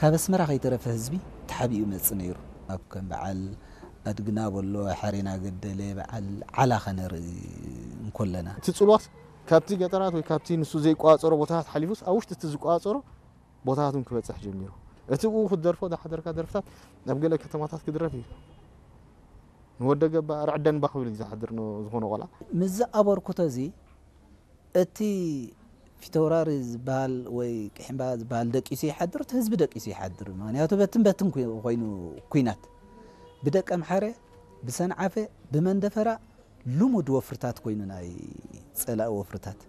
ካብ ኣስመራ ከይተረፈ ህዝቢ ተሓቢኡ መጽእ ነይሩ። ኣብ ከም በዓል ኣድግና በሎ፣ ሓሬና ገደለ፣ በዓል ዓላ ከነርኢ እንኮለና። እቲ ጽልዋስ ካብቲ ገጠራት ወይ ካብቲ ንሱ ዘይቋጸሮ ቦታታት ሓሊፉስ ኣብ ውሽጢ እቲ ዝቋጸሮ ቦታታት እውን ክበጽሕ ጀሚሩ። እቲ ብኡ ክትደርፎ ዝሓደርካ ደርፍታት ኣብ ገለ ከተማታት ክድረፍ እዩ። ንወደ ገባ ርዕደን ባኽ ብል ዝሓድር ን-፣ ዝኾነ ቆልዓ። ምስዚ ኣበርክቶ እዚ እቲ ፊተውራሪ ዝበሃል ወይ ቅሒምባ ዝበሃል ደቂሱ ይሓድር፣ እቲ ህዝቢ ደቂሱ ይሓድር። ምክንያቱ በትን በትን ኮይ-፣ ኮይኑ ኩናት ብደቀ ምሓረ፣ ብሰንዓፈ፣ ብመንደፈራ ልሙድ ወፍርታት ኮይኑ ናይ ጸላኢ ወፍርታት።